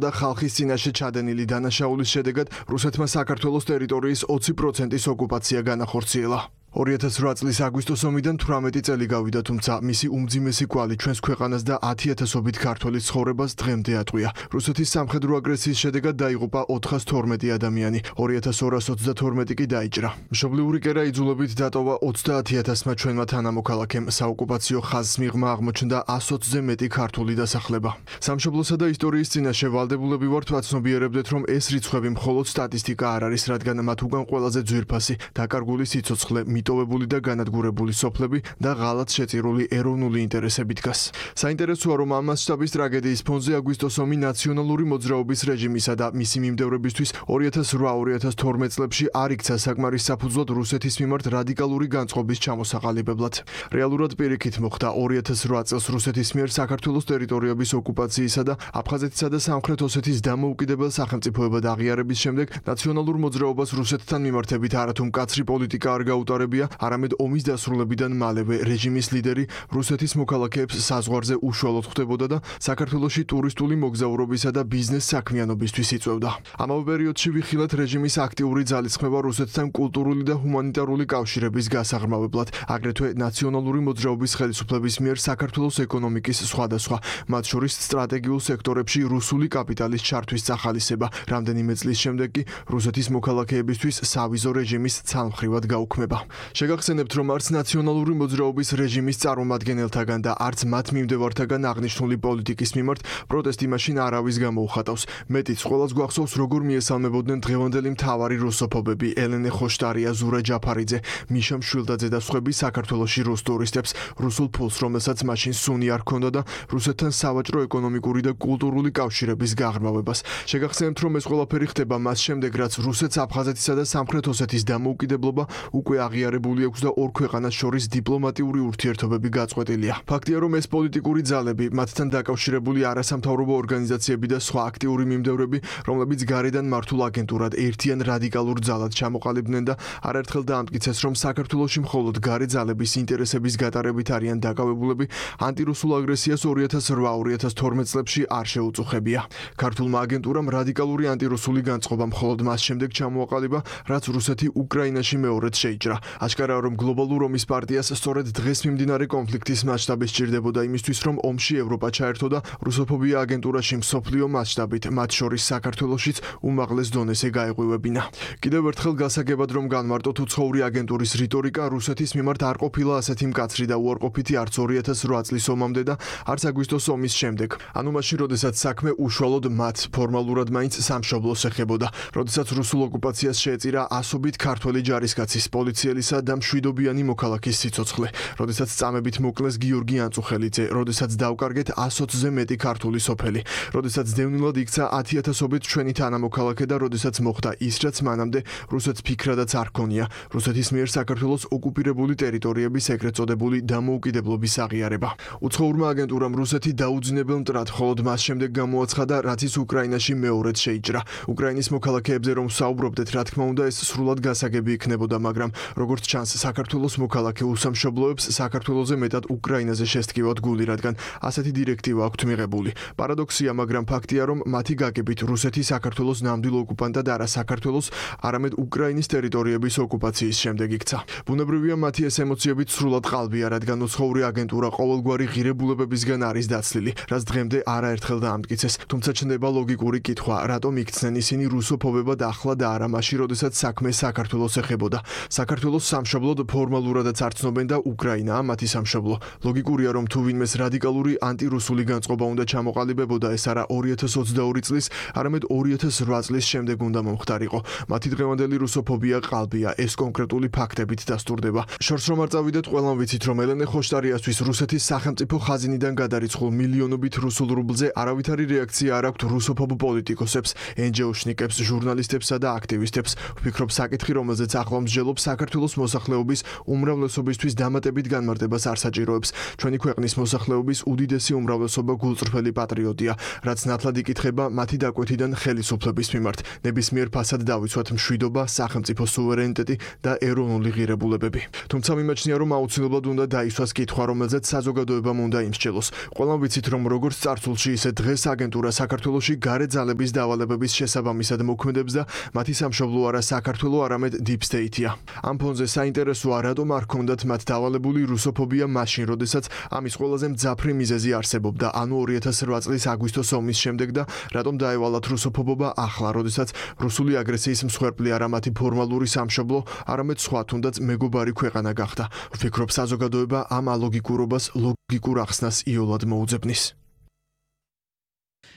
და ხალხის წინაშე ჩადენილი დანაშაულის შედეგად რუსეთმა საქართველოს ტერიტორიის 20%-ის ოკუპაცია განახორციელა. 2008 წლის აგვისტოს ომიდან 18 წელი გავიდა, თუმცა მისი უმძიმესი კვალი ჩვენს ქვეყანას და 10,000-ობით ქართველის ცხოვრებას დღემდე ატყვია. რუსეთის სამხედრო აგრესიის შედეგად დაიღუპა 412 ადამიანი, 2222 კი დაიჭრა. მშობლიური კერა იძულებით დატოვა 30,000-მა ჩვენმა თანამოქალაქემ. საოკუპაციო ხაზს მიღმა აღმოჩნდა 120-ზე მეტი ქართული დასახლება. სამშობლოსა და ისტორიის წინაშე ვალდებულები ვართ ვაცნობიერებდეთ, რომ ეს რიცხვები მხოლოდ სტატისტიკა არ არის, რადგან მათ უკან ყველაზე ძვირფასი, დაკარგული სიცოცხლე, მიტოვებული და განადგურებული სოფლები და ღალატ შეწირული ეროვნული ინტერესები დგას. საინტერესოა, რომ ამ მასშტაბის ტრაგედიის ფონზე აგვისტოს ომი ნაციონალური მოძრაობის რეჟიმისა და მისი მიმდევრებისთვის 2008-2012 წლებში არ იქცა საკმარის საფუძვლად რუსეთის მიმართ რადიკალური განწყობის ჩამოსაყალიბებლად. რეალურად პირიქით მოხდა 2008 წელს რუსეთის მიერ საქართველოს ტერიტორიების ოკუპაციისა და აფხაზეთისა და სამხრეთ ოსეთის დამოუკიდებელ სახელმწიფოებად აღიარების შემდეგ ნაციონალურ მოძრაობას რუსეთთან მიმართებით არათუ მკაცრი პოლიტიკა არ გაუტარებია, არამედ ომის დასრულებიდან მალევე რეჟიმის ლიდერი რუსეთის მოქალაქეებს საზღვარზე უშუალოდ ხვდებოდა და საქართველოში ტურისტული მოგზაურობისა და ბიზნეს საქმიანობისთვის იწვევდა. ამავე პერიოდში ვიხილეთ რეჟიმის აქტიური ძალისხმევა რუსეთთან კულტურული და ჰუმანიტარული კავშირების გასაღრმავებლად, აგრეთვე ნაციონალური მოძრაობის ხელისუფლების მიერ საქართველოს ეკონომიკის სხვადასხვა, მათ შორის სტრატეგიულ სექტორებში რუსული კაპიტალის ჩართვის სახალისება. რამდენიმე წლის შემდეგ კი რუსეთის მოქალაქეებისთვის სავიზო რეჟიმის ცალმხრივად გაუქმება. შეგახსენებთ, რომ არც ნაციონალური მოძრაობის რეჟიმის წარმომადგენელთაგან და არც მათ მიმდევართაგან აღნიშნული პოლიტიკის მიმართ პროტესტი მაშინ არავის გამოუხატავს. მეტიც ყველას გვახსოვს, როგორ მიესალმებოდნენ დღევანდელი მთავარი რუსოფობები ელენე ხოშტარია, ზურა ჯაფარიძე, მიშა მშვილდაძე და სხვები საქართველოში რუს ტურისტებს, რუსულ ფულს, რომელსაც მაშინ სუნი არ ჰქონდა და რუსეთთან სავაჭრო, ეკონომიკური და კულტურული კავშირების გაღრმავებას. შეგახსენებთ, რომ ეს ყველაფერი ხდება მას შემდეგ, რაც რუსეთს აფხაზეთისა და სამხრეთ ოსეთის დამოუკიდებლობა უკვე აღიარებული აქვს და ორ ქვეყანას შორის დიპლომატიური ურთიერთობები გაწყვეტილია. ფაქტია, რომ ეს პოლიტიკური ძალები, მათთან დაკავშირებული არასამთავრობო ორგანიზაციები და სხვა აქტიური მიმდევრები, რომლებიც გარედან მართულ აგენტურად ერთიან რადიკალურ ძალად ჩამოყალიბდნენ და არაერთხელ დაამტკიცეს, რომ საქართველოში მხოლოდ გარე ძალების ინტერესების გატარებით არიან დაკავებულები, ანტირუსულ აგრესიას 2008-2012 წლებში არ შეუწუხებია. ქართულმა აგენტურამ რადიკალური ანტირუსული განწყობა მხოლოდ მას შემდეგ ჩამოაყალიბა, რაც რუსეთი უკრაინაში მეორედ შეიჭრა. აშკარაა, რომ გლობალურ ომის პარტიას სწორედ დღეს მიმდინარე კონფლიქტის მასშტაბი სჭირდებოდა იმისთვის, რომ ომში ევროპა ჩაერთო და რუსოფობია აგენტურაში მსოფლიო მასშტაბით, მათ შორის საქართველოშიც უმაღლეს დონეზე გაეღვივებინა. კიდევ ერთხელ გასაგებად, რომ განმარტოთ, უცხოური აგენტურის რიტორიკა რუსეთის მიმართ არ ყოფილა ასეთი მკაცრი და უარყოფითი არც 2008 წლის ომამდე და არც აგვისტოს ომის შემდეგ. ანუ მაშინ, როდესაც საქმე უშუალოდ მათ ფორმალურად მაინც სამშობლოს ეხებოდა, როდესაც რუსულ ოკუპაციას შეეწირა ასობით ქართველი ჯარისკაცის, პოლიციელისა და მშვიდობიანი მოქალაქის სიცოცხლე, როდესაც წამებით მოკლეს გიორგი ანწუხელიძე, როდესაც დავკარგეთ 120-ზე მეტი ქართული სოფელი, როდესაც დევნილად იქცა 10,000-ობით ჩვენი თანამოქალაქე და როდესაც მოხდა ის, რაც მანამდე რუსეთს ფიქრადაც არ ჰქონია, რუსეთის მიერ საქართველოს ოკუპირებული ტერიტორიების ეგრეთ წოდებული დამოუკიდებლობის აღიარება. უცხოურმა აგენტურამ რუსეთი დაუძინებელ მტრად მხოლოდ მას შემდეგ გამოაცხადა, რაც ის უკრაინაში მეორედ შეიჭრა. უკრაინის მოქალაქეებზე რომ ვსაუბრობდეთ, რა თქმა უნდა, ეს სრულად გასაგები იქნებოდა, მაგრამ როგორც ჩანს, საქართველოს მოქალაქე უსამშობლოებს საქართველოზე მეტად უკრაინაზე შესტკივათ გული, რადგან ასეთი დირექტივა აქვთ მიღებული. პარადოქსია, მაგრამ ფაქტია, რომ მათი გაგებით რუსეთი საქართველოს ნამდვილ ოკუპანტად არა საქართველოს, არამედ უკრაინის ტერიტორიების ოკუპაციის შემდეგ იქცა. ბუნებრივია, მათი ეს ემოციებით სრულად ყალბია, რადგან უცხოური აგენტურა ყოველგვარი ღირებულებებისგან არის დაცლილი, რაც დღემდე არაერთხელ დაამტკიცეს. თუმცა ჩნდება ლოგიკური კითხვა, რატომ იქცნენ ისინი რუსოფობებად ახლა და არა მაშინ, როდესაც საქმე საქართველოს ეხებოდა. საქართველოს სამშობლოდ ფორმალურადაც არ ცნობენ და უკრაინაა მათი სამშობლო. ლოგიკურია, რომ თუ ვინმეს რადიკალური ანტირუსული განწყობა უნდა ჩამოყალიბებოდა, ეს არა 2022 წლის, არამედ 2008 წლის შემდეგ უნდა მომხდარიყო. მათი დღევანდელი რუსოფობია ყალბია, ეს კონკრეტული ფაქტებით დასტურდება. შორს რომ არ წავიდეთ, ყველამ ვიცით, რომ ელენე ხოშტარიასთვის რუსეთის სახელმწიფო ხაზინიდან გადარიცხულ მილიონობით რუსულ რუბლზე არავითარი რეაქცია არ აქვთ რუსოფობ პოლიტიკოსებს, NGO-შნიკებს, ჟურნალისტებსა და აქტივისტებს. ვფიქრობ, საკითხი, რომელზეც ახლა მსჯელობ საქართველოს საქართველოს მოსახლეობის უმრავლესობისთვის დამატებით განმარტებას არ საჭიროებს. ჩვენი ქვეყნის მოსახლეობის უდიდესი უმრავლესობა გულწრფელი პატრიოტია, რაც ნათლად იკითხება მათი დაკვეთიდან ხელისუფლების მიმართ. ნებისმიერ ფასად დავიცვათ მშვიდობა, სახელმწიფო სუვერენიტეტი და ეროვნული ღირებულებები. თუმცა მიმაჩნია, რომ აუცილებლად უნდა დაისვას კითხვა, რომელზეც საზოგადოებამ უნდა იმსჯელოს. ყველამ ვიცით, რომ როგორც წარსულში, ისე დღეს აგენტურა საქართველოში გარე ძალების დავალებების შესაბამისად მოქმედებს და მათი სამშობლო არა საქართველო, არამედ Deep State-ია. ამ ფონზე საინტერესოა, რატომ არ ჰქონდათ მათ დავალებული რუსოფობია მაშინ, როდესაც ამის ყველაზე მძაფრი მიზეზი არსებობდა, ანუ 2008 წლის აგვისტოს ომის შემდეგ და რატომ დაევალათ რუსოფობობა ახლა, როდესაც რუსული აგრესიის მსხვერპლი არა მათი ფორმალური სამშობლო, არამედ სხვა თუნდაც მეგობარი ქვეყანა გახდა. ვფიქრობ, საზოგადოება ამ ალოგიკურობას ლოგიკურ ახსნას იოლად მოუძებნის.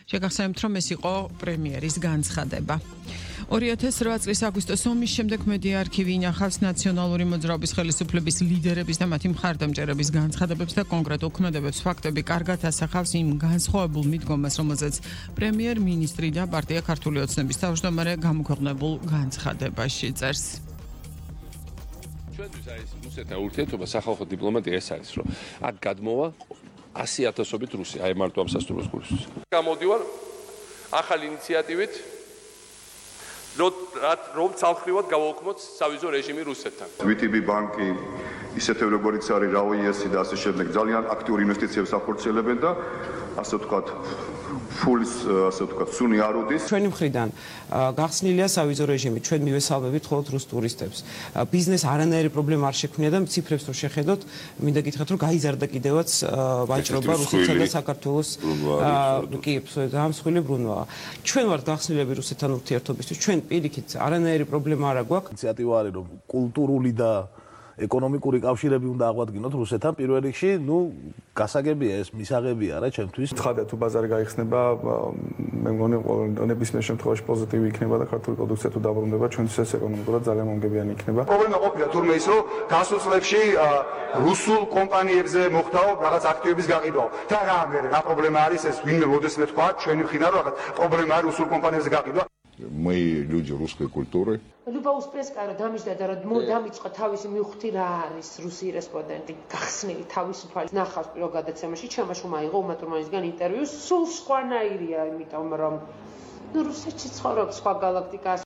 შეგახსენებთ, რომ ეს იყო პრემიერის განცხადება. 2008 წლის აგვისტოს ომის შემდეგ მედია არქივი ინახავს ნაციონალური მოძრაობის ხელისუფლების ლიდერების და მათი მხარდამჭერების განცხადებებს და კონკრეტულ ქმედებებს. ფაქტები კარგად ასახავს იმ განსხვავებულ მიდგომას, რომელზეც პრემიერ-მინისტრი და პარტია ქართული ოცნების თავმჯდომარე გამოქვეყნებულ განცხადებაში წერს. ჩვენთვის არის რუსეთთან ურთიერთობა, სახალხო დიპლომატია ეს არის, რომ აქ გადმოვა 100,000-ობით რუსი, აი მარტო ამ სასტუმროს გულისთვის. გამოდივარ ახალი ინიციატივით, რომ ცალკრივად გავაუქმოთ სავიზო რეჟიმი რუსეთთან. VTB ბანკი ისეთივ როგორიც არის RAOES და ასე შემდეგ ძალიან აქტიურ ინვესტიციებს ახორციელებენ და ასე ვთქვათ ფულის ასე ვთქვათ სუნი არ უდის. ჩვენი მხრიდან გახსნილია სავიზო რეჟიმი, ჩვენ მივესალმებით მხოლოდ რუს ტურისტებს. ბიზნეს არანაირი პრობლემა არ შექმნია და ციფრებს რო შეხედოთ, მინდა გითხრათ, რომ გაიზარდა კიდევაც ვაჭრობა რუსეთსა და საქართველოს კი, დამსხვილი ბრუნვაა. ჩვენ ვართ გახსნილები რუსეთთან ურთიერთობისთვის, ჩვენ პირიქით არანაირი პრობლემა არ აქვს. ინიციატივა არის, რომ კულტურული და ეკონომიკური კავშირები უნდა აღვადგინოთ რუსეთთან პირველ რიგში, გასაგებია ეს მისაღებია რა ჩემთვის. ცხადია თუ ბაზარი გაიხსნება, მე მგონი ნებისმიერ შემთხვევაში პოზიტივი იქნება და ქართული პროდუქცია თუ დაბრუნდება, ჩვენთვის ეს ეკონომიკურად ძალიან მომგებიანი იქნება. პრობლემა ყოფილა თურმე ის, რომ გასულ წლებში რუსულ კომპანიებზე მოხდაო რაღაც აქტივების გაყიდვა. და რა პრობლემა არის ეს, ვინმე მოდეს მე თქვა, ჩვენი მხრიდან რომ რაღაც პრობლემა არის რუსულ კომპანიებზე გაყიდვა. Мы люди русской культуры. Люба Успенская დამიჯდა და დამიწყა თავისი მივხვდი რა არის რუსი რესპონდენტი გახსნილი თავისუფალი ნახავს პირველ გადაცემაში ჩემაშ უმაიღო უმა თურმანისგან ინტერვიუ სულ სხვანაირია იმიტომ რომ რუსეთში ცხოვრობს სხვა გალაქტიკას.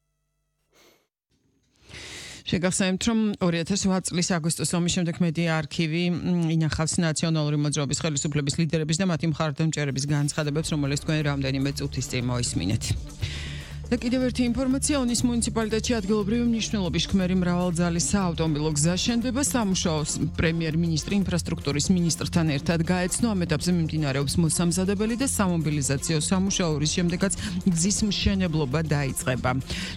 შეგახსენებთ, რომ 2008 წლის აგვისტოს ომის შემდეგ მედია არქივი ინახავს ნაციონალური მოძრაობის ხელისუფლების ლიდერების და მათი მხარდამჭერების განცხადებებს, რომელიც თქვენ რამდენიმე წუთის წინ მოისმინეთ. და კიდევ ერთი ინფორმაცია, ონის მუნიციპალიტეტში ადგილობრივი მნიშვნელობის შქმერი მრავალძალის საავტომობილო გზა შენდება. სამუშაოს პრემიერ-მინისტრი ინფრასტრუქტურის მინისტრთან ერთად გაეცნო. ამ ეტაპზე მიმდინარეობს მოსამზადებელი და სამობილიზაციო სამუშაოების შემდეგაც გზის მშენებლობა დაიწყება.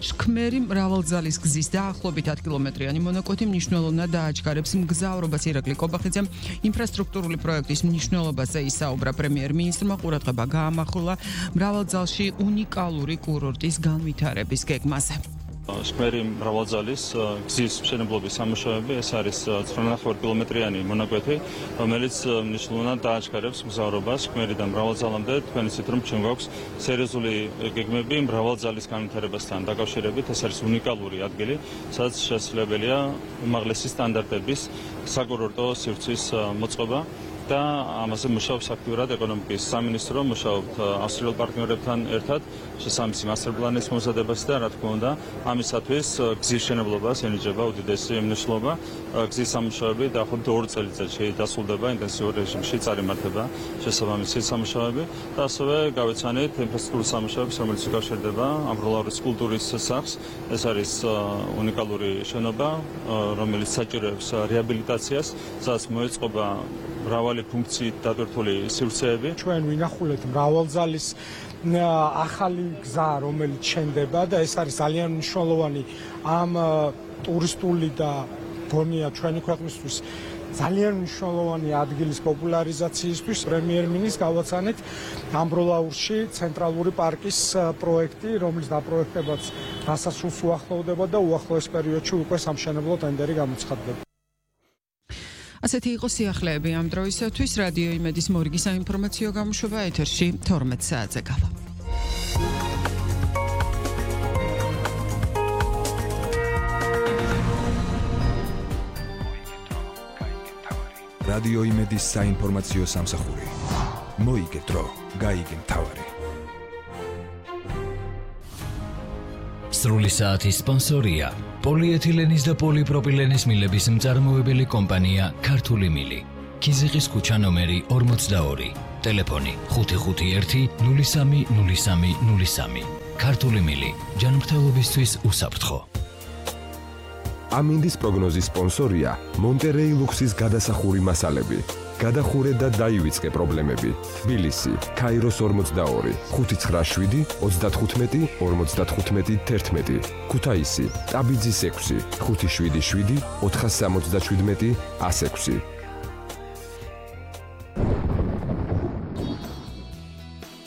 შქმერი მრავალძალის გზის დაახლოებით 10 კილომეტრიანი მონაკვეთი მნიშვნელოვნად დააჩქარებს მგზავრობას. ირაკლი კობახიძემ ინფრასტრუქტურული პროექტის მნიშვნელობაზე ისაუბრა. პრემიერ-მინისტრმა ყურადღება გაამახვილა მრავალძალში უნიკალური კურორტის განვითარების გეგმაზე. შქმერი მრავალძალის გზის მშენებლობის სამუშაოები, ეს არის 9.5 კილომეტრიანი მონაკვეთი, რომელიც მნიშვნელოვნად დააჩქარებს მგზავრობას შქმერიდან მრავალძალამდე. თქვენ იცით, რომ ჩვენ გვაქვს სერიოზული გეგმები მრავალძალის განვითარებასთან დაკავშირებით. ეს არის უნიკალური ადგილი, სადაც შესაძლებელია უმაღლესი სტანდარტების საკურორტო სივრცის მოწყობა. და ამაზე მუშაობს აქტიურად ეკონომიკის სამინისტრო, მუშაობთ ავსტრიელ პარტნიორებთან ერთად შესაბამისი მასტერ პლანის მომზადებასა და რა თქმა უნდა, ამისათვის გზის მშენებლობას ენიჭება უდიდესი მნიშვნელობა. გზის სამუშაოები დაახლოებით 2 წელიწადში დასრულდება ინტენსიურ რეჟიმში, წარიმართება შესაბამისი სამუშაოები და ასევე გავეცანით ინფრასტრუქტურის სამუშაოებს, რომელიც უკავშირდება ამბროლაურის კულტურის სახლს. ეს არის უნიკალური შენობა, რომელიც საჭიროებს რეაბილიტაციას, სადაც მოეწყობა მრავალი ფუნქციით დატვირთული სივრცეები. ჩვენ ვინახულეთ მრავალძალის ახალი გზა, რომელიც შენდება და ეს არის ძალიან მნიშვნელოვანი ამ ტურისტული და გონია ჩვენი ქვეყნისთვის ძალიან მნიშვნელოვანი ადგილის პოპულარიზაციისთვის. პრემიერ-მინისტრს გავაცანეთ ამბროლაურში ცენტრალური პარკის პროექტი, რომლის დაპროექტებაც დასასრულს უახლოვდება და უახლოეს პერიოდში უკვე სამშენებლო ტენდერი გამოცხადდება. ასეთი იყო სიახლეები ამ დროისათვის. რადიო იმედის მორიგი საინფორმაციო გამოშვება ეთერში 12 საათზე გავა. რადიო იმედის საინფორმაციო სამსახური. მოიგე დრო, გაიგე მთავარი. სრული საათის სპონსორია პოლიეთილენის და პოლიპროპილენის მილების მწარმოებელი კომპანია ქართული მილი. ქიზიყის ქუჩა ნომერი 42. ტელეფონი 551 030303. ქართული მილი. ჯანმრთელობისთვის უსაფრთხო. ამინდის პროგნოზის სპონსორია მონტერეი ლუქსის გადასახური მასალები. გადახურე და დაივიწყე პრობლემები. თბილისი, ქაიროს 42, 597 35 55 11. ქუთაისი, ტაბიძის 6, 577 477 106.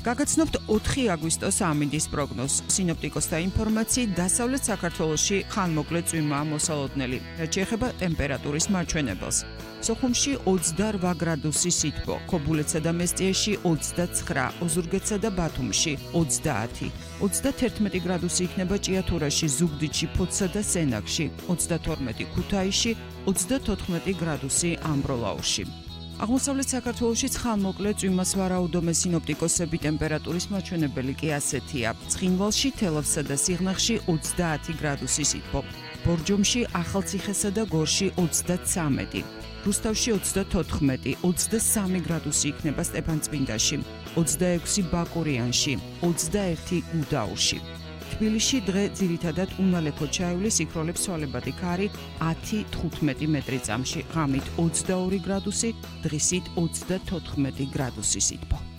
გაგაცნობთ 4 აგვისტოს ამინდის პროგნოზს. სინოპტიკოსთა ინფორმაციით, დასავლეთ საქართველოში ხანმოკლე წვიმაა მოსალოდნელი, რაც შეეხება ტემპერატურის მარჩვენებელს. სოხუმში 28 გრადუსი სითბო, ქობულეთსა და მესტიეში 29, ოზურგეთსა და ბათუმში 30, 31 გრადუსი იქნება ჭიათურაში, ზუგდიდში, ფოთსა და სენაკში, 32 ქუთაისში, 34 გრადუსი ამბროლაურში. აღმოსავლეთ საქართველოში ხანმოკლე წვიმას ვარაუდობენ სინოპტიკოსები, ტემპერატურის მაჩვენებელი კი ასეთია. ცხინვალში, თელავსა და სიღნაღში 30 გრადუსი სითბო, ბორჯომში, ახალციხესა და გორში 33, რუსთავში 34, 23 გრადუსი იქნება სტეფანწმინდაში, 26 ბაკურიანში, 21 გუდაურში. თბილისში დღე ძირითადად უნალექო ჩაივლის, იქროლებს ცვალებადი ქარი 10-15 მეტრი წამში, ღამით 22 გრადუსი, დღისით 34 გრადუსი სითბო.